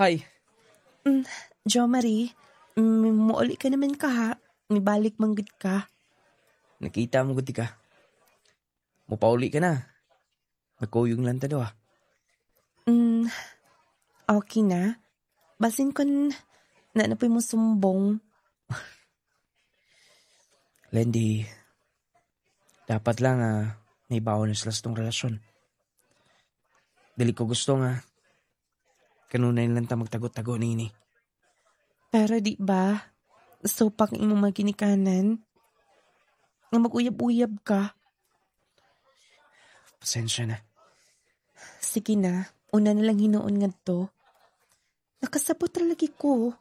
Hi. Jo Marie, muuli ka naman ka ha. Mibalik manggod ka. Nakita mo gud ka. Mupauli ka na. Nagkuyog lang ta do ah. Okay na. Basin kon na na mo sumbong. Lendy, dapat lang naibaw na sila sa tong relasyon. Dili ko gusto nga kanunay lang ta magtago-tago nini. Pero di ba, supak imong mga ginikanan? Nga mag-uyab-uyab ka. Pasensya na. Sige na, una na lang hinuon ngadto. Nakasabot ra lagi ko.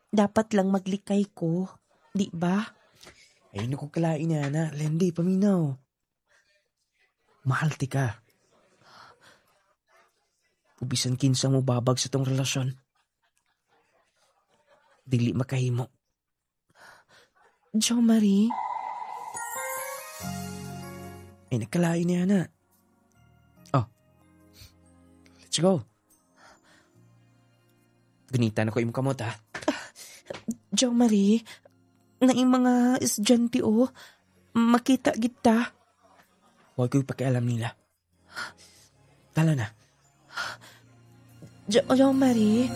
Dapat lang maglikay ko, di ba? Ayun ako kalain niya na. Lendy, paminaw. Mahal ti ka. Ubisan kinsa mo babag sa tong relasyon. Dili makahimo. Jo Marie, Ay, nagkalain niya na. Oh. Let's go. Ganita na ko imong kamot ha. Jo Marie, na yung mga estudyante oh, makita kita. Huwag ko'y pakialam nila. Tala na. Jo Marie.